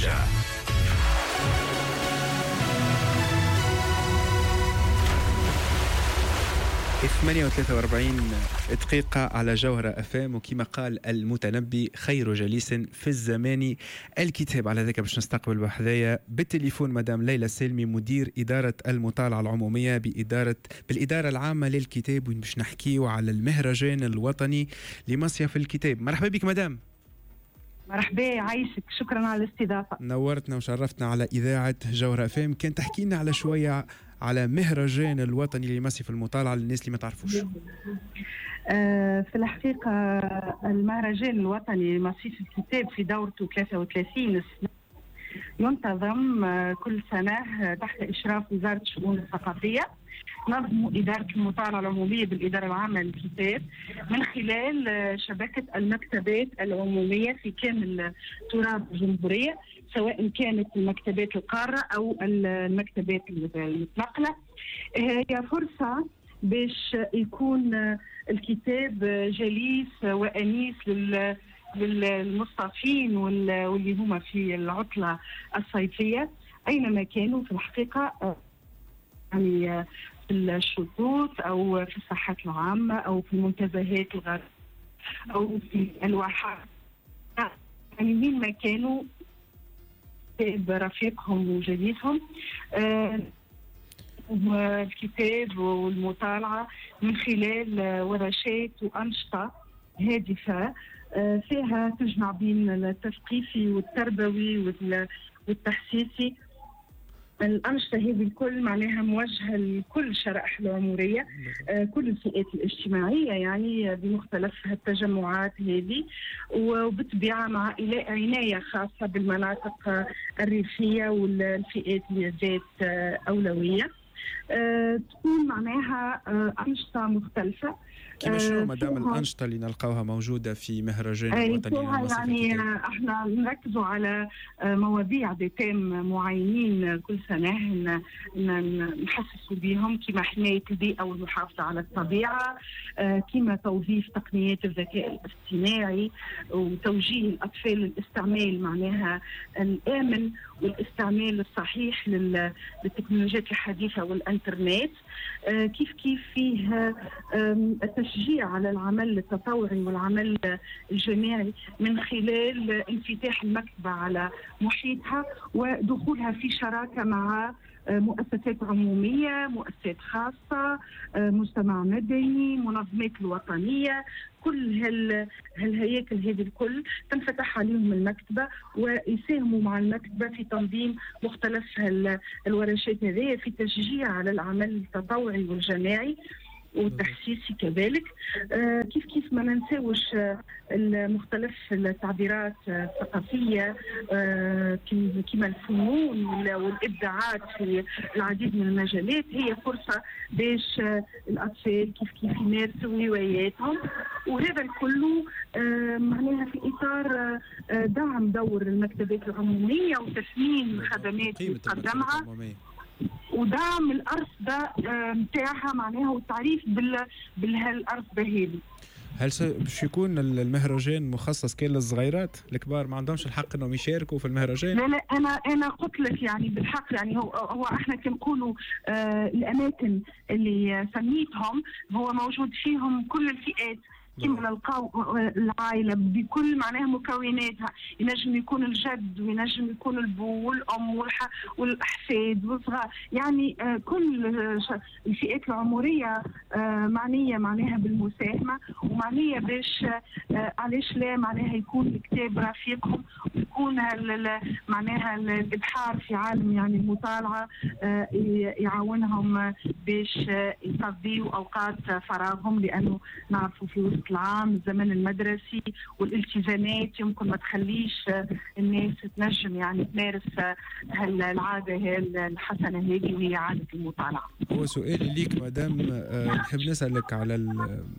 الموجة. ثمانية وثلاثة وأربعين دقيقة على جوهرة أفام، وكما قال المتنبي خير جليس في الزمان الكتاب. على ذلك باش نستقبل بحذايا بالتليفون مدام ليلى السالمي، مدير إدارة المطالعة العمومية بالإدارة العامة للكتاب، وين باش نحكيو على المهرجان الوطني لمصيف الكتاب. مرحبا بك مدام. مرحبا، عايشك، شكرا على الاستضافة. نورتنا وشرفتنا على إذاعة جوهرة أفام. كان تحكي لنا على شوية على مهرجان الوطني لمصيف المطالعة للناس اللي ما تعرفوش. في الحقيقة المهرجان الوطني لمصيف الكتاب في دورته 33 سنة ينتظم كل سنة تحت إشراف وزارة الشؤون الثقافية. نظم إدارة المطالعة العمومية بالإدارة العامة للكتاب من خلال شبكة المكتبات العمومية في كامل تراب الجمهورية، سواء كانت المكتبات القارة أو المكتبات المتنقلة. هي فرصة باش يكون الكتاب جليس وأنيس للمصطفين واللي هما في العطلة الصيفية أينما كانوا في الحقيقة، يعني في الشطوط أو في الساحات العامة أو في المنتزهات الغربية أو في الواحات، يعني مين ما كانوا رفيقهم وجليسهم. الكتاب والمطالعة من خلال ورشات وأنشطة هادفة فيها تجمع بين التثقيفي والتربوي والتحسيسي. الأنشطة هذه الكل معناها موجهة لكل الشرائح العمرية، كل الفئات الاجتماعية، يعني بمختلف التجمعات هذه، وبالطبيعة مع عناية خاصة بالمناطق الريفية والفئات اللي ذات أولوية. تكون معناها أنشطة مختلفة. كيما شنو مدام الأنشطة اللي نلقاوها موجودة في مهرجان الوطني؟ يعني احنا نركزوا على مواضيع des thèmes معينين كل سنة نحسسوا بهم، كما حماية البيئة والمحافظة على الطبيعة، كما توظيف تقنيات الذكاء الاصطناعي وتوجيه الأطفال للاستعمال معناها الآمن والاستعمال الصحيح للتكنولوجيات الحديثة والإنترنت. كيف كيف فيه التشجيع على العمل التطوعي والعمل الجماعي من خلال انفتاح المكتبة على محيطها ودخولها في شراكة مع مؤسسات عمومية، مؤسسات خاصة، مجتمع مدني، منظمات الوطنية. كل هالهياكل هذه الكل تنفتح عليهم المكتبة ويساهموا مع المكتبة في تنظيم مختلف الورشات هذه في تشجيع على العمل التطوعي والجماعي والتحسيسي كذلك. كيف كيف ما ننساوش مختلف التعبيرات الثقافية، كما الفنون والإبداعات في العديد من المجالات. هي فرصة باش الأطفال كيف كيف يمارسوا هواياتهم، وهذا الكل معناها في إطار دعم دور المكتبات العمومية وتثمين الخدمات اللي تقدمها ودعم الأرصدة متاعها معناها والتعريف بالهالأرصدة هذه. هل باش يكون المهرجان مخصص كان للصغيرات؟ الكبار ما عندهمش الحق انهم يشاركوا في المهرجان؟ لا لا، انا قلت لك يعني بالحق، يعني هو احنا كنقولوا الاماكن اللي سميتهم هو موجود فيهم كل الفئات، كما نلقاو العائلة بكل معناها مكوناتها، ينجم يكون الجد وينجم يكون البو والام والاحفاد والصغار، يعني كل الفئات العمرية معنية معناها بالمساهمه ومعنيه باش علاش لا معناها يكون الكتاب رفيقهم ويكون معناها الابحار في عالم يعني المطالعة يعاونهم باش يقضيوا اوقات فراغهم، لانه نعرفوا في وسط العام الزمن المدرسي والالتزامات يمكن ما تخليش الناس تنجم يعني تمارس العادة الحسنة هذه وهي عادة المطالعة. هو سؤالي ليك مدام، نحب نسألك على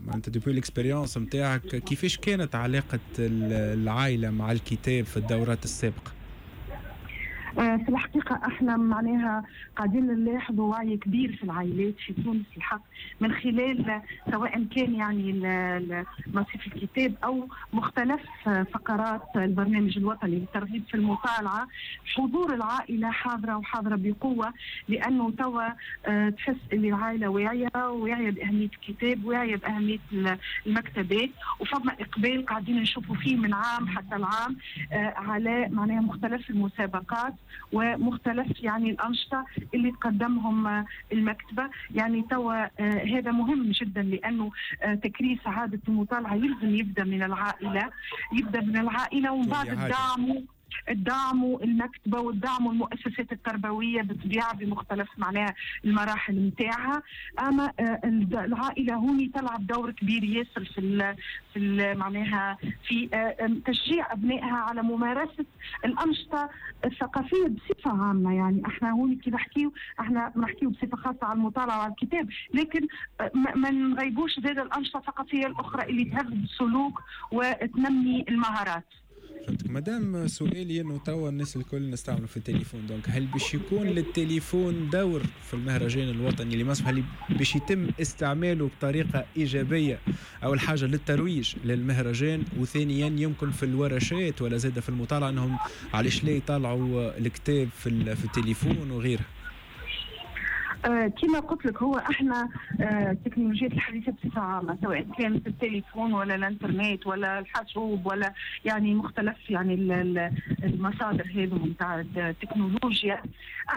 معناتها depuis l'expérience نتاعك، كيفاش كانت علاقة العائلة مع الكتاب في الدورات السابقة؟ في الحقيقة احنا معناها قاعدين نلاحظوا وعي كبير في العائلات في تونس الحق، من خلال سواء كان يعني مصيف الكتاب او مختلف فقرات البرنامج الوطني للترغيب في المطالعة. حضور العائلة حاضرة وحاضرة بقوة، لأنه توا تحس اللي العائلة واعية، واعية بأهمية الكتاب، واعية بأهمية المكتبات، وفما إقبال قاعدين نشوفوا فيه من عام حتى العام على معناها مختلف المسابقات ومختلف يعني الأنشطة اللي تقدمهم المكتبة. يعني توا هذا مهم جدا، لأنه تكريس عادة المطالعة يلزم يبدأ من العائلة، يبدأ من العائلة ومن بعد الدعم المكتبة والدعم المؤسسات التربوية بالطبيعة بمختلف معناها المراحل نتاعها. أما العائلة هوني تلعب دور كبير ياسر في معناها في تشجيع أبنائها على ممارسة الأنشطة الثقافية بصفة عامة. يعني احنا هوني كي نحكيو، احنا نحكيو بصفة خاصة على المطالعة وعلى الكتاب، لكن ما نغيبوش زاد الأنشطة الثقافية الأخرى اللي تهذب السلوك وتنمي المهارات. فهمتك مدام. سؤالي انه توا الناس الكل نستعملوا في التليفون، donc هل باش يكون للتليفون دور في المهرجان الوطني لمصر؟ هل باش يتم استعماله بطريقة ايجابية؟ اول حاجة للترويج للمهرجان، وثانيا يمكن في الورشات ولا زاد في المطالعة انهم علاش لا يطالعوا الكتاب في التليفون وغيرها؟ كما قلت لك، هو احنا التكنولوجيات الحديثة بصفة عامة سواء كانت التليفون ولا الانترنت ولا الحاسوب ولا يعني مختلف يعني المصادر هذو نتاع التكنولوجيا،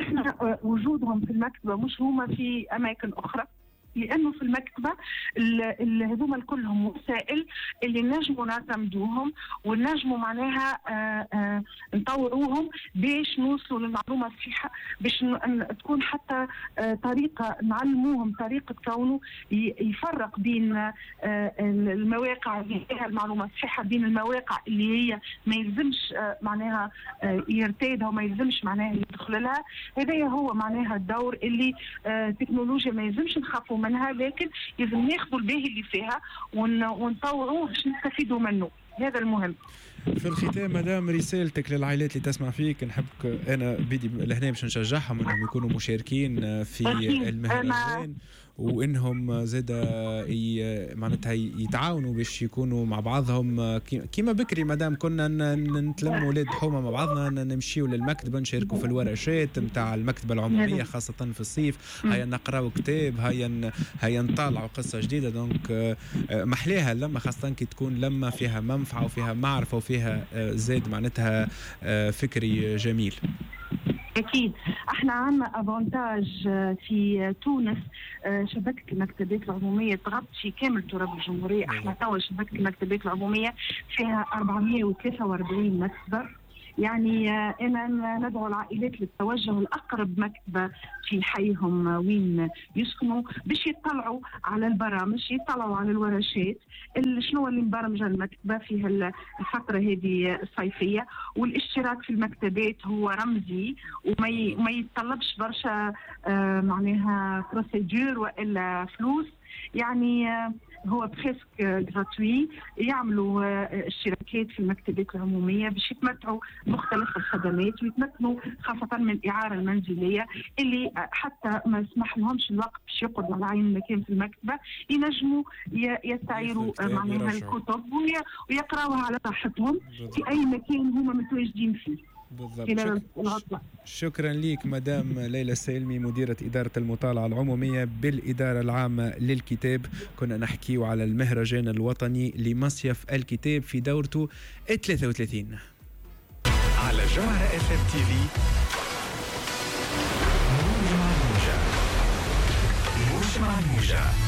احنا وجودهم في المكتبة مش هما في اماكن اخرى، لانه في المكتبة هذوما كلهم وسائل اللي نجموا نعتمدوهم ونجموا معناها نطوروهم باش نوصلوا للمعلومة الصحيحة، باش تكون حتى طريقه نعلموهم طريقه كونه يفرق بين المواقع اللي فيها المعلومة الصحيحة، بين المواقع اللي هي ما يلزمش معناها يرتادها وما يلزمش معناها يدخل لها. هذا هو معناها الدور اللي التكنولوجيا ما يلزمش نخافوا منها، لكن لازم ناخذوا الباهي اللي فيها ونطوروه باش نستفيدوا منه. هذا المهم. في الختام مدام، رسالتك للعائلات اللي تسمع فيك، نحبك انا بدي لهنا باش نشجعهم انهم يكونوا مشاركين في المهرجان، وانهم زاد معناتها يتعاونوا باش يكونوا مع بعضهم كيما بكري مدام كنا نتلموا ولاد حومه مع بعضنا، نمشيو للمكتبه، نشاركوا في الورشات نتاع المكتبة العمومية خاصة في الصيف، هيا نقراو كتاب، هيا نطالعوا قصة جديدة. donc محليها اللمة، خاصة كي تكون لمه فيها منفعه وفيها معرفة وفيها زاد معناتها فكري جميل. أكيد احنا عندنا avantage في تونس، شبكة المكتبات العمومية تغطي كامل تراب الجمهورية. احنا توا شبكة المكتبات العمومية فيها 443 مكتبة. يعني أنا ندعو العائلات للتوجه لأقرب مكتبة في حيهم وين يسكنوا باش يطلعوا على البرامج، يطلعوا على الورشات، شنو اللي مبرمجة المكتبة في الفترة هذه الصيفية. والاشتراك في المكتبات هو رمزي وما يتطلبش برشا معناها procédure وإلا فلوس، يعني هو presque gratuit. يعملوا اشتراكات في المكتبات العمومية باش يتمتعوا مختلف الخدمات ويتمكنوا خاصة من الإعارة المنزلية اللي حتى ما يسمح لهمش الوقت باش يقعدوا على عين المكان في المكتبة، ينجموا يستعيروا معناها الكتب ويقراوها على راحتهم في أي مكان هما متواجدين فيه. بالضبط. شكرا لك مدام ليلى السالمي، مديرة إدارة المطالعة العمومية بالإدارة العامة للكتاب. كنا نحكي على المهرجان الوطني لمصيف الكتاب في دورته 33 على جوهرة FM TV. موج مع الموجة، موج مع الموجة.